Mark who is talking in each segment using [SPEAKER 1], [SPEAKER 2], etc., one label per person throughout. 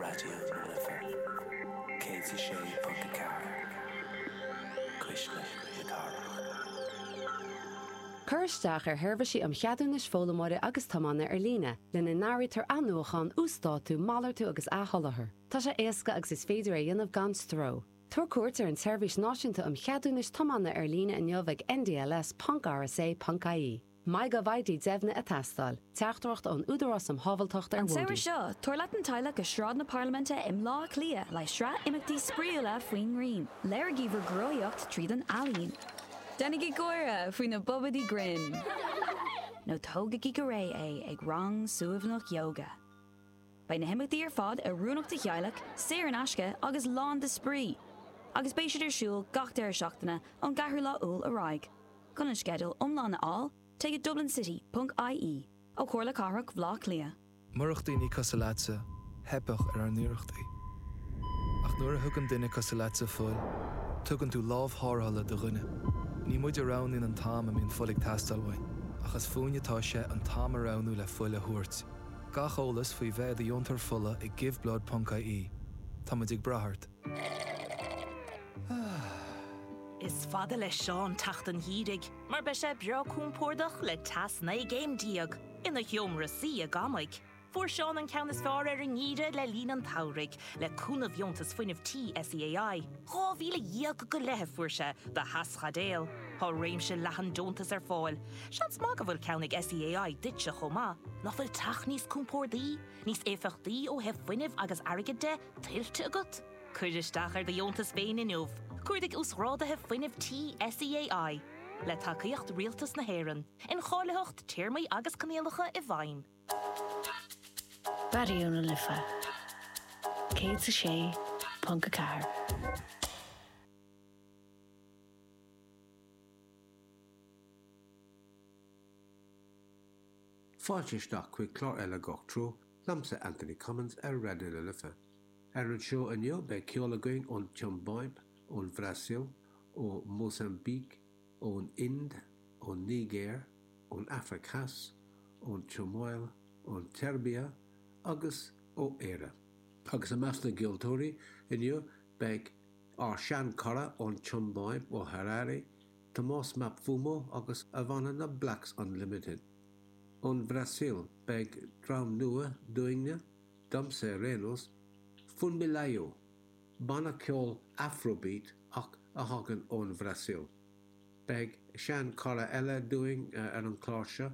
[SPEAKER 1] Raidió na Life 106.4, Cuisle na Cathrach.
[SPEAKER 2] Cuir isteach ar sheirbhísí um cheadúnais foghlaimeora agus tiomána ar líne, lena n-áirítear athnuachan, uasdátú, malartú agus athsholáthar. Tá sé éasca agus is féidir é a dhéanamh gan stró. Tabhair cuairt ar an tSeirbhís Náisiúnta um Cheadúnais Tiomána ar líne inniu ag ndls.rsa.ie. MyGovID deimhnithe ag teastáil. Teachtaireacht ón Údarás um Shábháilteacht ar
[SPEAKER 3] An
[SPEAKER 2] Bhóithre.
[SPEAKER 3] samhradh seo, tabhair leat an teaghlach go Sráid na Parlaiminte i mBleá Cliath le sraith imeachtaí spraíúla faoin ngrian. Léirigí bhur gcruthaíocht tríd an ealaín. Déanaigí gáire faoi na bobaidí grinn. Nó tógaigí go réidh é ag rang suaimhneach ióga. Beidh na himeachtaí ar fad oiriúnach do theaghlach, saor in aisce agus lán de spraoi! Agus beidh siad ar siúl gach deireadh seachtaine ón gceathrú lá Iúil ar aghaidh. Chun an sceideal iomlán a fháil, téigh go dublincity.ie ó Chomhairle Cathrach Bhaile Átha Cliath.
[SPEAKER 4] Murach daoine cosúil leatsa, theipfeadh ar ár n-iarrachtaí. Ach nuair a thugann duine cosúil leatsa fuil, tugann tú lámh tharrthála do dhuine. Ní muid a roghnaíonn an t-am a mbíonn fuil ag teastáil uainn, ach is fúinn atá sé an t-am a roghnú le fuil a thabhairt. Gach eolas faoi bheith i do dheontóir fola ag giveblood.ie. Tá muid ag brath ort.
[SPEAKER 5] Is fada le Seán teacht an gheimhridh mar beidh sé breá compordach le teas 19 gcéim ina sheomra suí i gCamaigh. Fuair Seán an ceann is fearr ar an ngeimhreadh le linn an tsamhraidh le cúnamh Dheontas Fuinnimh Tí SEAI. 12,000 go leith a fuair sé do theaschaidéal. Tá réimse leathan deontas ar fáil. Seans maith go bhfuil ceann ag SEAI duitse chomh maith. Nach bhfuil teach níos compórdaí, níos éifeachtaí ó thaobh fuinnimh agus airgid de, tuillte agat? Cuir isteach ar do dheontas féin inniu. Cuardaigh Uasghráduithe Fuinnimh Tí SEAI. Le tacaíocht Rialtas na hÉireann. Incháilitheacht, téarmaí agus coinníollacha i bhfeidhm.
[SPEAKER 6] Raidió na Life 106.4.
[SPEAKER 7] Fáilte isteach chuig clár eile Gach Treo, liomsa Anthony Cummins ar Raidió na Life. Ar an seó inniu beidh ceol againn ón tSiombáib, ón Bhrasaíl, ó Mhósaimbíc, ón Ind, ón Nigéir, ón Afraic Theas, ón tSomáil, ón tSeirbia agus ó Éire. Agus i measc na gceoltóirí inniu beidh ár sean-chara ón tSiombáib, ó Harare, Tomás Mapfumo agus a bhanna na Blacks Unlimited. Ón Bhrasaíl beidh dream nua dúinne, domsa ar aon nós, Funmilayo, banna ceoil Afrobeat ach a thagann ón Bhrasaíl. Beidh sean-chara eile dúinn ar an chlár seo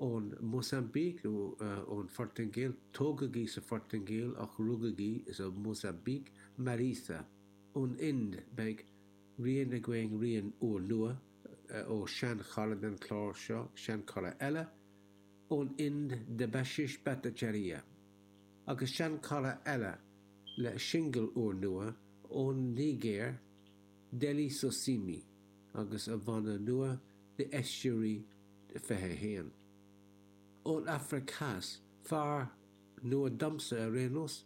[SPEAKER 7] ón Mósaimbíc nó ón Phortaingéil, tógadh í sa Phortaingéil ach rugadh í sa Mhósaimbíc, Mariza. Ón Ind beidh rian againn, rian úrnua ó shean-chara den chlár seo, sean-chara eile ón Ind, Debashish Bhattacharya. Agus sean-chara eile le singil úrnua ón Nigéir, Dele Sosimi agus a bhanna nua The Estuary 21. Ón Afraic Theas, fear nua domsa ar aon nós,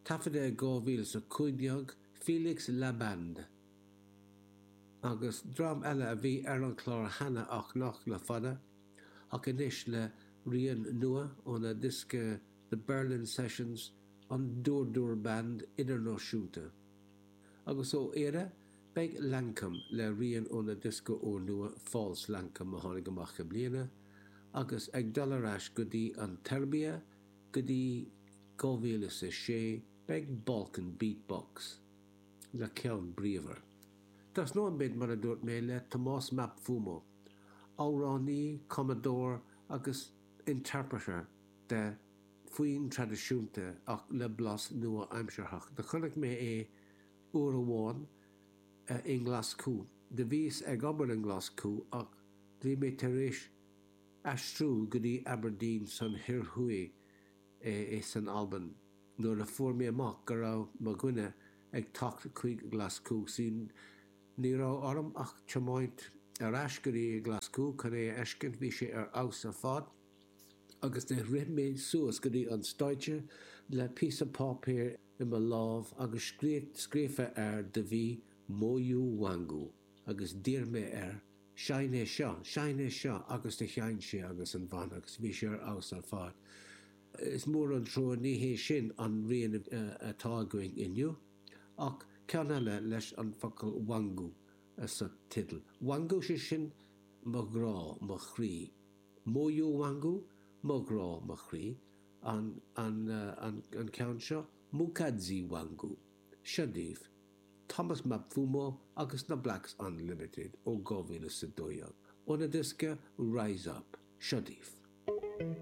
[SPEAKER 7] taifeadta i 2015, Felix Laband. Agus dream eile a bhí ar an chlár cheana ach nach le fada, ach anois le rian nua óna diosca The Berlin Sessions, an Dur Dur Band Idirnáisiúnta. Agus ó Éire, beidh Lankum le rian óna diosca úrnua False Lankum a tháinig amach i mbliana, agus ag dul ar ais go dtí an tSeirbia go dtí 2006 beidh Balkan Beat Box le ceann bríomhar. Tosnóidh muid, mar a dúirt mé, le Tomás Mapfumo, amhránaí, cumadóir agus interpreter de foinn traidisiúnta ach le blas nua-aimsearthach. Do chonaic mé é uair amháin i nGlaschú. Do bhíos ag obair i nGlaschú ach bhí mé tar éis aistriú go dtí Aberdeen san Thoir Thuaidh san Albain nuair a fuair mé amach go raibh mo dhuine ag teacht chuig Glaschú. Sea, ní raibh orm ach tiomáint ar ais go dtí Glaschú chun é a fheiscint, bhí sé ar fheabhas ar fad. agus do rith mé suas go dtí an stáitse le píosa páipéir i mo lámh agus scríofa air do bhí Moyo Wangu agus d'iarr mé air seinn é seo, seinn é seo agus do sheinn sé agus an bhanna agus bhí sé ar fheabhas ar fad. Is mór an trua ní hé sin an rian atá againn inniu, ach ceann eile leis an focal Wangu sa teideal. Wangu, sé sin mo ghrá, mo chroí. Moyo Wangu, mo ghrá, mo chroí, an an ceann seo, Mukadzi Wangu. Seo daoibh. Thomas Mapfumo agus na Blacks Unlimited ó 2012, óna diosca Rise Up. Seo daoibh.